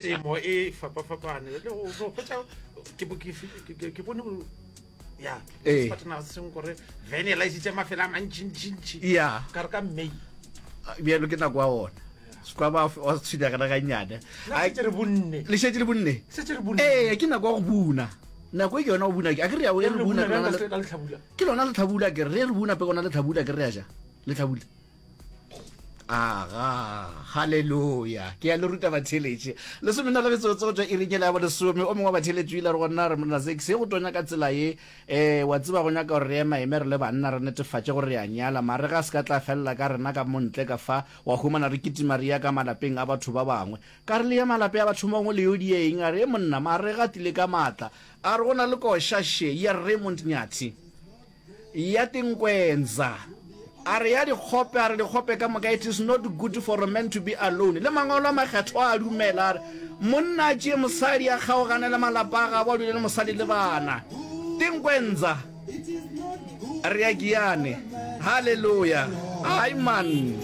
Temo e fapafapane le go go hwetša ke bo- ke ke- ke- ke bone go- ya Ee. sefatanaga se sengwe kore vene e laisitše mafelo a mantšintšintši Ya. ka re ka May Bjalo ke nako ya ona. Sekwa ba wa tshwenyega le gannyane. Na šetše re bunne. Le šetše le bunne? Šetše re bunne. Ee, ke nako ya go buna. Nako e ke yona go buna. A ke re ya re Re buna buna ke bjang lona ka le- se- ka lehlabula? Ke lona lehlabula ke re re buna pe gona lehlabula ke re ya ja. Lehlabula. Aga, haleluya. Ke ya le ruta batheletše. Lesomena le metsotso go tšwa iring yela ya bolesome. O mongwe wa batheletši o ile a re go nna, a re, Monna Zakes, ge go tonya ka tsela ye, eh, wa tseba go nyaka gore re emaeme re le banna re netefatše gore re a nyala. Marega a se ka tla felela ka rena ka mo ntle ka fa, wa humana re kitima re ya ka malapeng a batho ba bangwe. Ka re le ye malape a batho ba bangwe le yo dia eng? A re, Monna, marega a tlile ka maatla. A re go na le koša še ya Raymond Nyathi. Ya Tinkwenza. A re ya dikgope, a re dikgope ka moka, it is not good for a man to be alone. Le mangwalo a makgethwa a dumela, a re monna a tšee mosadi a kgaogane le malapa a gabo a dule le mosadi le bana. Tinkwenza. Re ya Giyane. Hallelujah. Hai man.